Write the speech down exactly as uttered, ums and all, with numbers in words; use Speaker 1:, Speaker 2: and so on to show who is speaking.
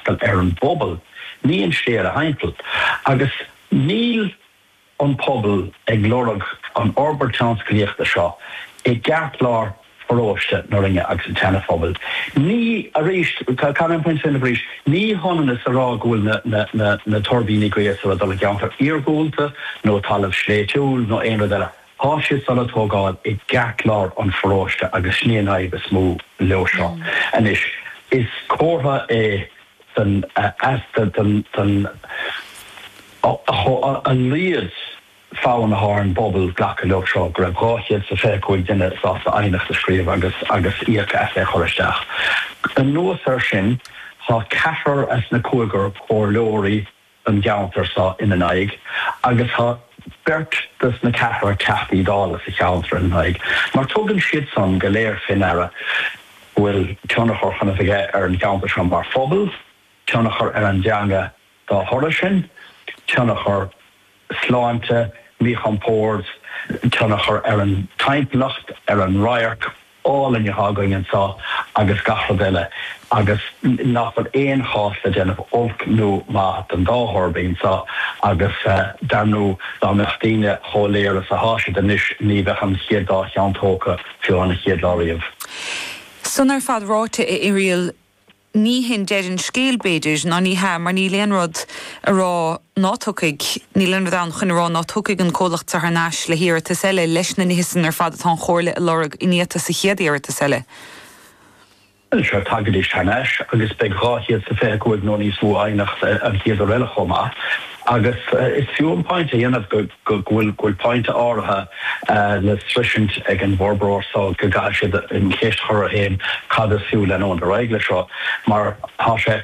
Speaker 1: freastal ar an bpobal, ní an slí eile thimpeall. Agus níl an pobal ag lorg an fhorbairt tionsclaíochta seo i gceartlár pharóiste na Rinne agus an tSeana-Phobail. Ní arís caithfidh mé pointe sin arís, ní hionann is a rá go bhfuil na, na, na, na tuirbíní gaoithe ag dul i gceantar iargúlta nó talamh sléibhtiúil nó aon rud eile. Tá siad le tógáil i gceartlár an pharóiste agus sin an fhadhb is mó leo seo. Anois is comhartha é den easpa den den a laghad fonn atá ar an bpobal glacadh leo seo go raibh dhá chéad is a fiche cúig duine sásta aighneacht a scríobh agus agus íoc as é a chur isteach. Anuas air sin tá ceathrar as na cúigear comhairleoirí an gceantar seo ina n-aghaidh agus tá beirt des na ceathrar Teachtaí Dála sa cheantar ina n-aghaidh mar tugann siad san go léir faoi ndeara go bhfuil tionchar chun a bheith aige ar an gceantar seo mar phobal, tionchar ar an dteanga dá thoradh sin, tionchar sláinte, míchompord, tionchar ar an timpeallacht, ar an radharc álainn atá againn anseo agus gach rud eile agus nach bhfuil aon chás le déanamh olc nó maith den dá thuirbín seo agus dar ndóigh dá mbeadh daoine chomh léir is atá siad anois ní bheadh an chéad dá cheann tógtha fiú an chéad lá riamh.
Speaker 2: San ar fad ráite a Irial ní hin deireadh an scéil b'fhéidir ná ní hea mar níl aon rud a rá ná tiocfaidh níl aon rud ann chun a rá ná tiocfaidh an comhlacht thar n-ais le hiarratas eile leis na nithe san ar fad atá an Chomhairle a lorg iniata sa chéad iarratas eile.
Speaker 1: Seo tagaidís thar n-ais agus beidh dhá chéad is a fiche cúig nó níos mó aighneacht an chéad uair eile chomh maith. Agus is fiú an pointe a dhéanamh go bhfuil go bhfuil pointe áirithe le sroisint ag an bhforbróir so go gcaithfidh siad an cheist a chur orthu féin cad is fiú leanúint ar aghaidh leis seo mar tá sé